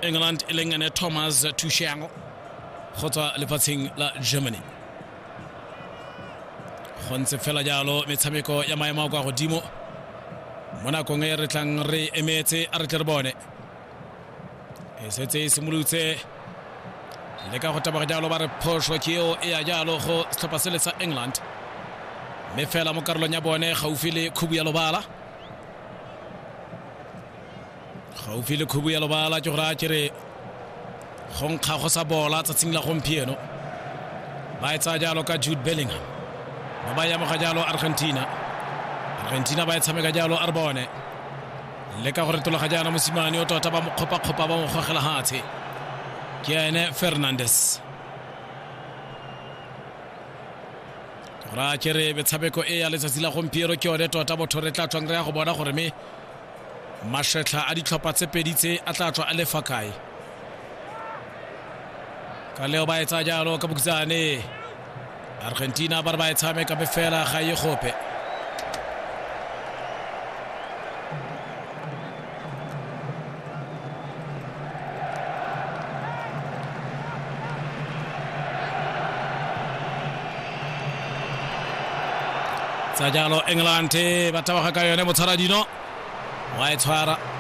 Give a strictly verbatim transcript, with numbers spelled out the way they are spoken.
England e leng ene Thomas Tuchel go tswa lefatsheng la Germany. Go ntse fela jalo metshameko ya maemo a kwa godimo mo nakong e re tlang re emetse, a re tle re bone e setse e simolotse le ka go taboga jalo, ba re phoso ke eo e ya jalo go setlhopha sele sa England, mme fela mo karolong ya bone gaufi le khubu ya lobala, gaufi le khubu ya lobala, ke gore a kere go nkga go sa bola tsatsing la gompieno. Ba e tsaya jalo ka Jude Bellingham, ba ba yamoga jalo Argentina, Argentina ba e tshameka jalo, a re bone le ka go retologa jaana mosimane o tota ba mo kgopa-kgopa ba mo gogela hatshe, ke ene Fernandes. Ke gore a kere metshameko e ya letsatsi la gompieno ke yone tota botho re tla tswang re ya go bona gore me mašetlha a ditlhopha tse pedi tse a tla tswa a le fa kae. Ka leo ba e tsaya jalo ka bokhutshwane, Argentina ba re ba e tshameka mme fela ga e gope. Tsa jalo England ba taboga ka yone, motshwaradino wa e tshwara.